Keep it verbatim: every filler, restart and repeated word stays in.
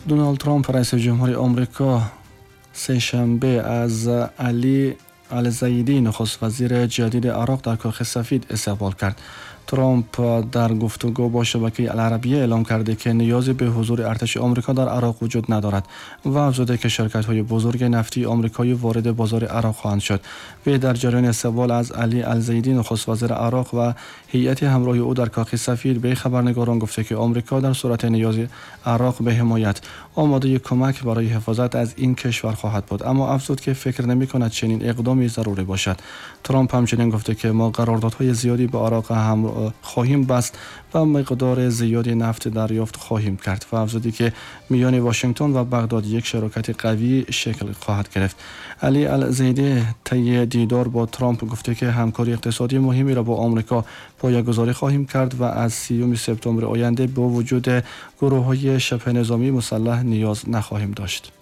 Доналд Трамп, раиси ҷумҳури Омрико, сешанбе аз Али Алзайдӣ, нахуствазири ҷадиди Ароқ, дар Кохи Сафид истиқбол кард. Трамп дар гуфтугӯ бо шабакаи Аларабия эълом карде ки ниёзе ба ҳузури артиши Омрико дар Ароқ вуҷуд надорад ва афзуде ки ширкатҳои бузурги нафтии омрикоӣ вориди бозори Ароқ хоҳанд шуд. Вай дар ҷараёни истиқбол аз Али Алзайдӣ, нахуствазири Ароқ, ва ҳайати ҳамроҳи ӯ дар Кохи Сафид ба хабарнигорон гуфта ки Омрико дар сурати ниёзи Ароқ ба ҳимоят омодаи кӯмак барои ҳифозат аз ин кишвар хоҳад буд, аммо афзуд ки фикр намекунад чунин иқдоме зарурӣ бошад. Трамп ҳамчунин гуфта ки мо қарордодҳои зиёде ба Ароқ ҳам хоҳем баст ва миқдори зиёди нафт дарёфт хоҳем кард ва афзуде ки миёни Вашингтон ва Бағдод як шарокати қавӣ шакл хоҳад гирифт. Али Алзайдӣ тайи дидор бо Трамп гуфта ки ҳамкории иқтисодии муҳимеро бо Омрико поягузорӣ хоҳем кард ва аз сиюми септембри оянда бо вуҷуди гурӯҳҳои шибҳнизомии мусаллаҳ ниёз нахоҳем дошт.